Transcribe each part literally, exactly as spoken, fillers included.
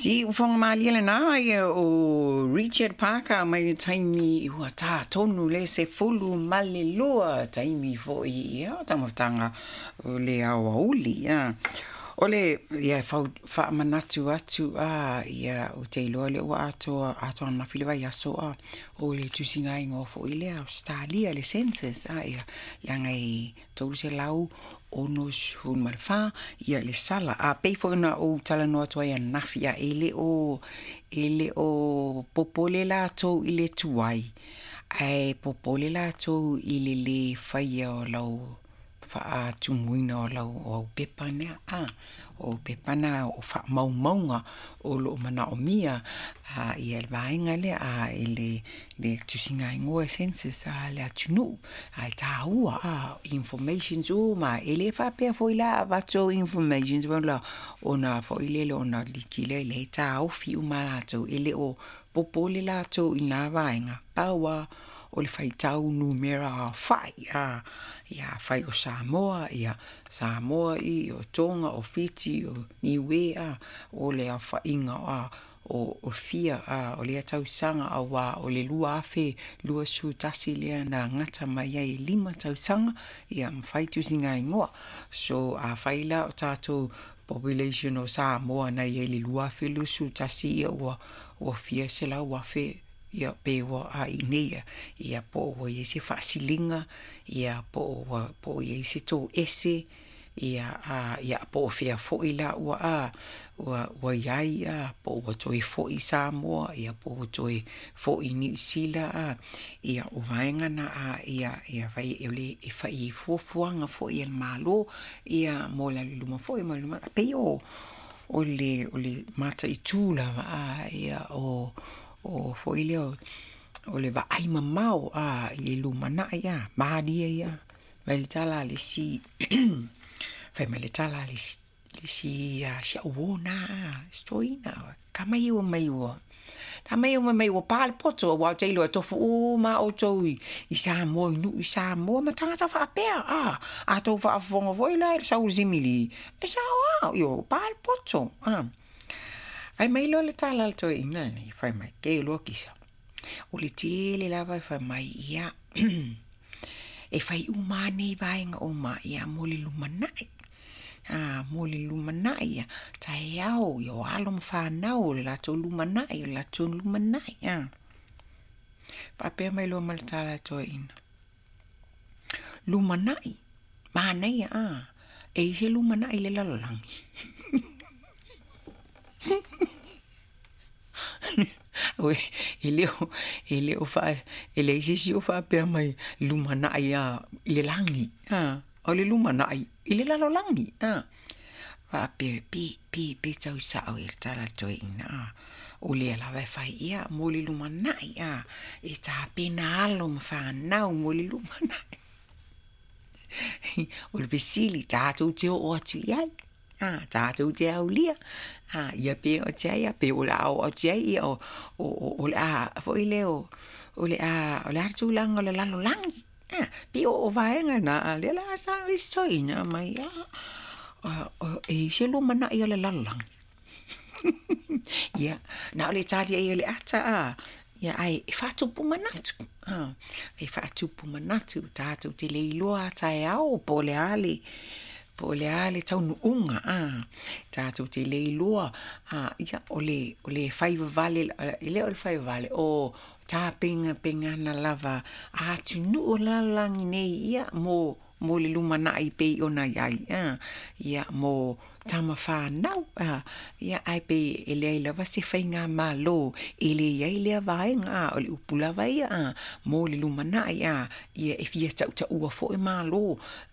Siufoga malie lenā ia o Richard Parker mai le taimi ua tātonu le sefulu ma le lua taimi foʻi ia taumafataga o le aoauli a. O le ia fau faamanatu atu a ia ou te iloa lea ua atoa atoa ananafi le vaiaso a o le tusiga igoa foʻi lea Ausetalia le census a ia leaga e tolu selau ono sefulu ma le fā ia le sala a pei foʻi ona ou talanoa atu ai ananafi a e le o e le o popole latou i le tuai ae popole latou i le lē faia o lau faatumuina o lau o au pepa nea a o pepa na o faamaumauga o loo manaomia a ia le vaega lea a e le le tusiga igoa census a le atunuu ae tāua a informations uma e lē faapea foi la avatu informations la ona foʻi lele ona liki lea le taofi uma latou e le o popole latou i na vaega pau a o le faitau numera aofaʻi a ia afai o Samoa ia Samoa i o Toga o Fiti o Niue a o le aofaʻiga a o o fia a o lea tausaga auā o le lua afe lua sefulu tasi lea na gata mai ai e lima tausaga ia mafai tusiga igoa. So afai la o tatou population o Samoa na iai le lua afe lua sefulu tasi ia ua ua fia selau afe ia pe ua a i nei ia po o ua iai se faasiliga ia po o ua po o iai se toese ia a ia po o fea foʻi la ua a ua ua iai a po ua toe foʻi Samoa ia po ua toe foʻi Niu Sila a ia o vaega na a ia ia fai e le e fai i fuafuaga foʻi a le Mālō ia mo le alu i luma foʻi ma le lumanai pei o o le o le mataitū lava a ia o o foʻi lea o le vaai mamao a i le lumanai a malie ia mai le tala a le isi fai mai le tala a le isi si au uō na se toeaina tamai ua mai ua tamai ua mai ua pa le poto auā ou te iloa e tofu uma outou i i Samoa i nuu i Samoa ma tagata faapea a a tou faafofoga foi la i le sau o le simili e sao a io pa le poto a. Fai mai loa le tala a le toeaina lenei fai mai ke loa kisa o le tele lava e fai mai ia e fai uma nei vaega uma ia mo le lumanai a mo le lumanai ia taeao ia o alo ma fanau o le latou lumanai o le latou lumanai a. Faapea mai loa ma le tala a le toeaina lumanai manaia a e i se lumanai i le lalolagi. E le o e le o faa e leai se isi o faapea mai lumanai a i le lagi a o le lumanai i le lalolagi a. Faapea pe pe pe tau sao i le tala a le toeaina a o lea lava e fai ia mo le lumanai a e tapena alo ma fanau mo le lumanai. O le fesili tatou te oo atu i ai a tatou te aulia a ia pe o te ai pe o le a oo atu i ai ia o o o le a foʻi lea o o le a o le a le tulaga o le lalolagi a pei o o vaega na a lea la sa isi toeaina mai a e i se lumanai o le lalolagi. Ia na o le tali ai o le ata a ia ae e faatupu manatu a e faatupu manatu tatou te le iloa taeao po o le a le po o le a le taunuuga a tatou te le iloa a ia o le o le fai vavale e le o le fai vavale o tapenapegana lava a atunuu o le lalolagi nei ia mo mo le lumanai pei ona iai a ia mo tama fanau a ia ae pei e leai lava se faiga mālō e lē iai lea vaega a o le upu lava ia a mo le lumanai a ia e fia tautaua foʻi mālō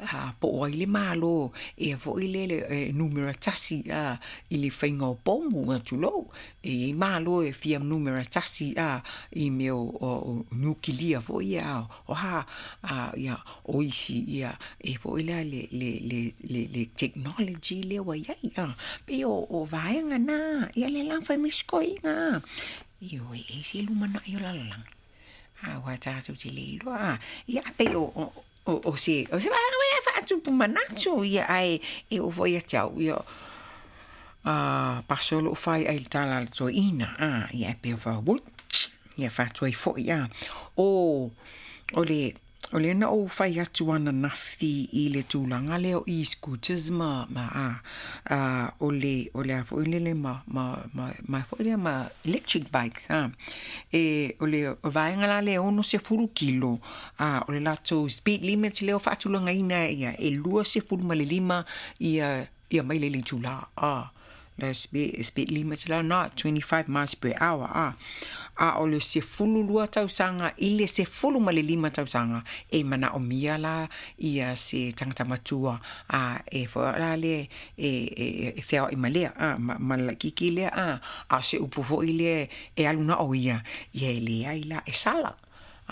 a po o ai le mālō ea foʻi lele e numera tasi a i le faiga o pomu a tulou e iai mālō e fia numera tasi a i mea o, o, o nukilia foʻi ia a o ha a ia o isi ia e foʻi la le le le le, le technology lea ua iai a pei o, o vaega na ia le la fai mai sikoiga a ioe e se lumanai o lalolagi a ua tatou te le iloa a ia pei o, o o, o se o se vaega e faatupu manatu ia ae e oo foi ia te au ia a paso o loo fai ai le tala a le toeaina a ia ae pei e ui ia faatu ai foi a o o le o lea na ou fai atu ananafi i le tulaga lea o e-scooters ma ma a a o le o le a foi lele ma ma ma ma foi lea ma electric bikes a e o le vaega la lea ono sefulu kilo a o le latou speed limit lea o faatulagaina ia e lua sefulu ma le lima ia ia maile i le itulā a le speed, speed limit la na twenty-five miles per hour a a o le sefulu lua tausaga i le sefulu ma le lima tausaga e manaomia la ia se tagata matua a e fo'a la le e e e feaoa'i ma lea a ma, ma le laʻikiki lea a a se upu fo'i lea e alu na o ia ia e leai la e sala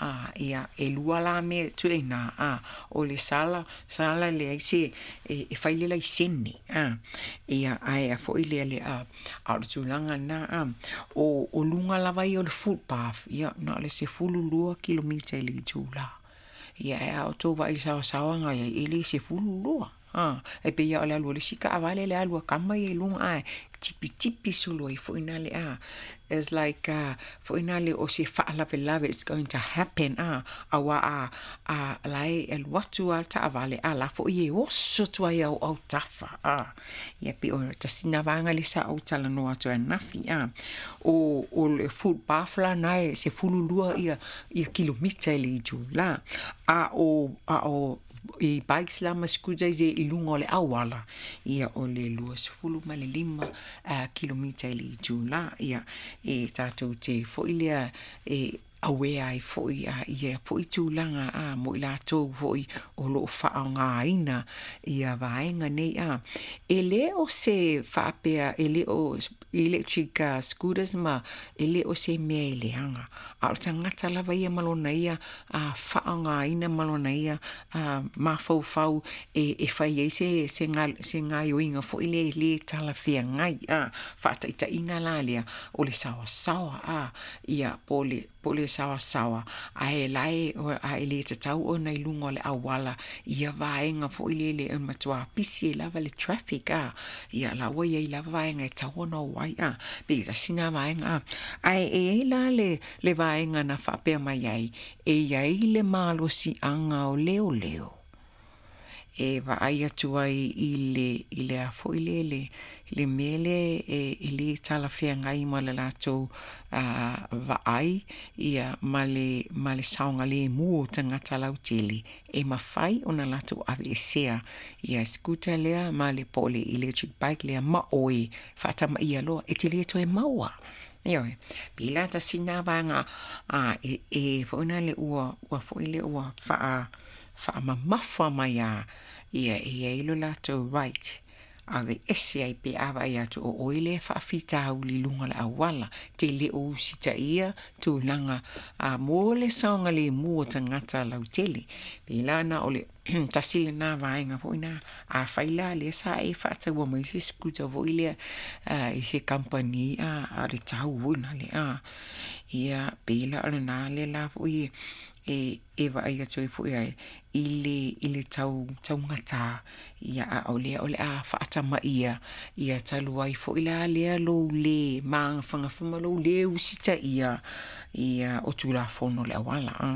a ia e lua la mea tuuina a o le sala sala leai se e, e fai le laisene a ia ae a fo'i lea le a a o le tulaga na a o o luga lava ia o le footpath ia na o le sefulu lua kilomita i le itulā ia e a o tou vaai saosaoaga ia e le sefulu lua a e pei o le alu o le isi taavale le alu a kama ia i luga ae tipitipi solo ai fo'i na le a it's like uh, fo'i na le o se faalavelave it's going to happen a aua a a lae e alu atu a le taavale a la fo'i e oso atu ai au autafa a ia pe o tasina vaega le sa ou talanoa atu ananafi a o o le footpath la na e sefulu lua ia ia kilomita i le itulā a o a o i bikes la ma scooters i luga o le auala ia o le lua sefulu ma le lima uh, kilomita i le itulā ia e tatou te fo'i lea e awea ai fo'i a ia fo'i tulaga a mo i latou fo'i o loo faaaogāina ia vaega nei a e lē o se faapea e lē o electric uh, scooters ma e lē o se mea e leaga a o le tagata lava ia ma lona ia a faaaogāina ma lona ia a mafaufau e, e fai ai se se ga se gaioiga fo'i le lē talafeagai a faataʻitaʻiga la lea o le saoasaoa a ia po le po le saoasaoa ae lae ae lē tatau ona i luga o le auala ia vaega fo'i lele e matuā pisi ai lava le traffic a ia la ua iai lava vaega e tau ona o ai a pe tasina vaega a ae e ai la le le vaega na faapea mai ai e iai le malosiaga o leoleo e vaai atu ai i le i le a fo'i lele le mea lea e, e lē talafeagai ma le latou uh, vaai ia ma le ma le saogalēmū o tagata lautele e mafai ona latou aveesea ia scooter lea ma le po o le electric bike lea ma oe faatamaia loa e te lē toe maua. Ioe, pila tasina vaega a e e foʻi le ua ua foʻi le ua faa faamamafa mai a ia e iai lo latou right aveese ai pe a vaai atu o oe lea faafitauli i luga o le auala te le o usitaia tulaga a mo le saogalēmū o tagata lautele pela na o le tasi lenā vaega foʻi na afai la lea sa e faataua mai se scooter foʻi lea i se company a a le tau foʻi na le a ia pela o lenā lea la foʻi e e vaai atu ai foʻi ai i le i le tau taugatā ia a o lea o le a faatamaia ia talu ai foʻi la lea lou lē magafagafa ma lou lē usitaia ia o tulafono le auala a.